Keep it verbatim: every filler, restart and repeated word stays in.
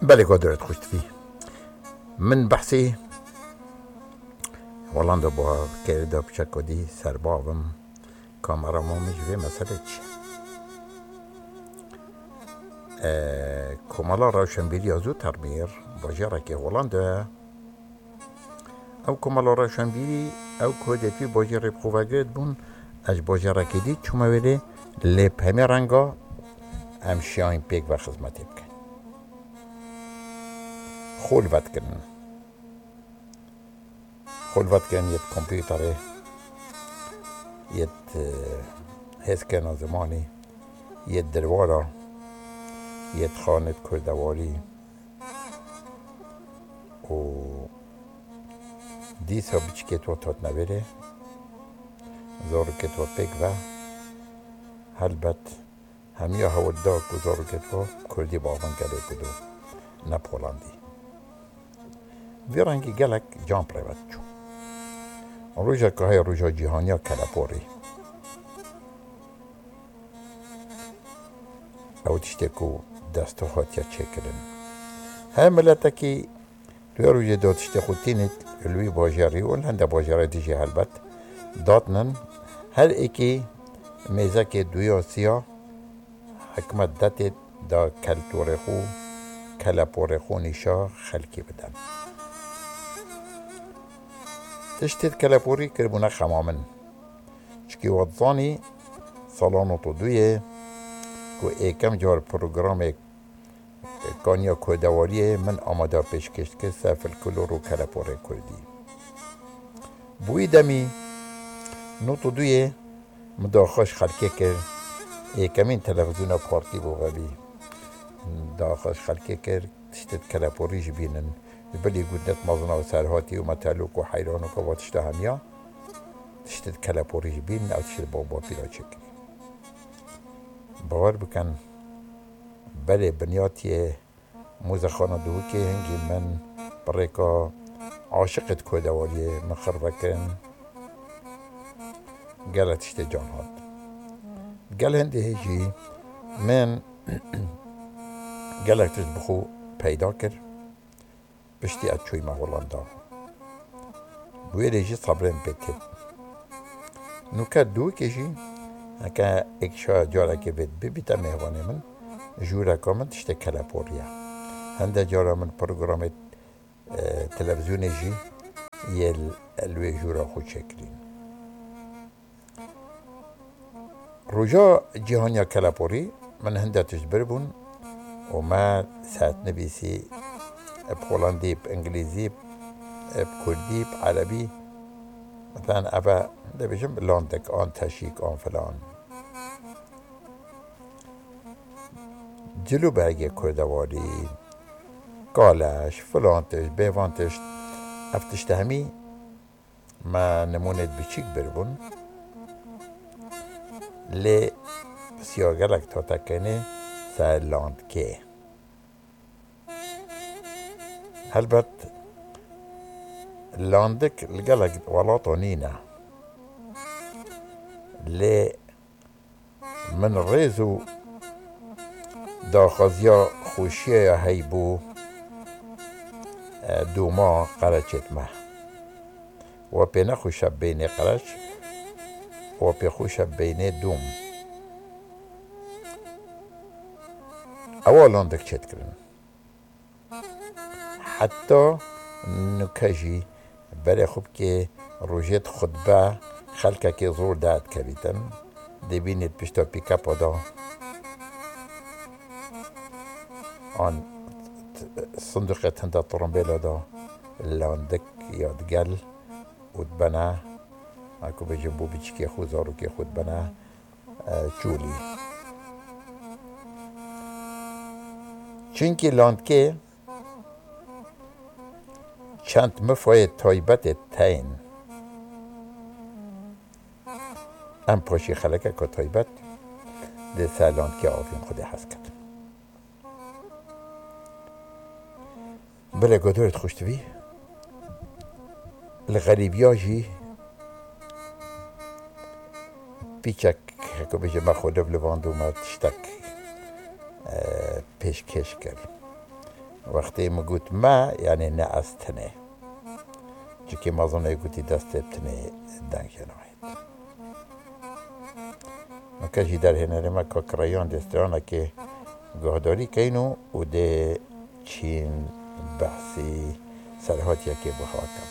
Belê, godoret xweş dibî. Min behsî Holanda bû, kerê da piçek ku dî serbavim. Kameraman min ji vê meselê çi? E, Komala Rewşenbîriya Zoetermeer, bajarekê Holanda ye. Ew Komala Rewşenbîrî, ew ku dê tu bajarê bi xwe vegirt bûn, ez ji bajarekê dî çûme wêrê, lê bi hemê renga em şiyayîn pêk ve xizmetê bikin. Xwe li ve dikirin. Xwe li ve dikirin yê di kompûterê, yê di, e, hêzkirina zimanî, yê di derwara, yê di xanê di kurdewarî. Û dîsa biçikê to totne vêrê, zarokê to pêk ve, helbet hemiya hewl da ku zarokê to kurdî bavin gelê ku do, ne polandî. Vî rengî gelek can bi rê ve diçû. Rojeka heye roja cîhaniya keleporî. Ew tiştê ku destû hatiye çêkirin. Her miletekî di wê rojê de tiştê xwe tînit li wî bajarî û li hinde bajarê dijî helbet datnin. Her êkî mêzekê duya siya hikmet detê da keltorê xwe, keleporê xwe nîşa xelkî bidin. Tiştê di keleporî kiribûne xema min. Çikî we dizanî, sala nod û duyê ku êkem car programê Kaniya Kurdewariyê min amada pêşkêş dikir ser folklor û keleporê kurdî. Bi wî demî nod û duyê min daxwaz xelkê kir, êkemîn televîzyona partî bû vebî. Daxwaz xelkê kir, tiştê di keleporî jî bînin. Ji bilî gundek mezina û serhatî û metelok û heyranok û va tişta hemiya, tiştê di keleporî jî bînin, ew tiştê di bab û bapîra çêkirî. Bawer bikin, berê binyatiyê Mûzexana Dûkê hingî min bi rêka aşiqê di kurdewariyê min xirve kirin. Gelek tiştê can hat. Gel hindê jî min gelek tişt bi xwe peyda kir. Piştî ez çûyme Holanda. Bi wê rê jî sebrê min pê têt. Nûke dûkê jî heke êk şaya carekê vê bibîte mêvanê min, jûreka min tiştê keleporî ye. Hinde cara min programê, e, televîzyonê jî yê li, li wê jûra xwe çêkirîn. Roja Cîhaniya Keleporî min hinde tişt bir bûn û me sertnivîsî bi holandî, bi îngilîzî, bi kurdî, bi erebî, meten eve dibêjim landik an teşîk an filan. Cilûbergê kurdewarî, kaleş, filan tişt, bêvan tişt, ev tişt hemî me nimûnêt biçîk bir bûn, lê pisya gelek tatekenê ser landkê. Helbet landik li gelek welata nîne, lê min rêz û daxwaziya xweşiya ya heybû, e, dûma qereçêt me. Wa pê nexweş e beynê qereç, wa pê xweş e beynê dûm. Ewa landik çêdikirin. Heta nuke jî berê xwe bikê rojêt xutbe xelkekê zor derdikevîtin. Dibînît pişta pîkepa da an t-, sindoqê tinde tirimbêla da landik ya digel û dibene, heko bêjin bo biçikê xwe, zarokê xwe dibene, e, çolî. Çunkî landkê çend mifayê taybetê teyên. Em paşî xelekeka taybet dê ser landkê avîn Xwedê hez ket. Belê godoret xweş dibî. Li xerîbiya jî pîçek, heko bêje me xwe dev li van dû me tiştek, e, pêşkêş kir. Wextê min got me, yanî ne ez tinê. Çikê mezin ê gotî destê tinê dengê nahêt. Mike jî derhênerê me ka kireyan dê stranekê guhdarî keyn û û dê çîn behsî serhatiyekê bi xwe kin.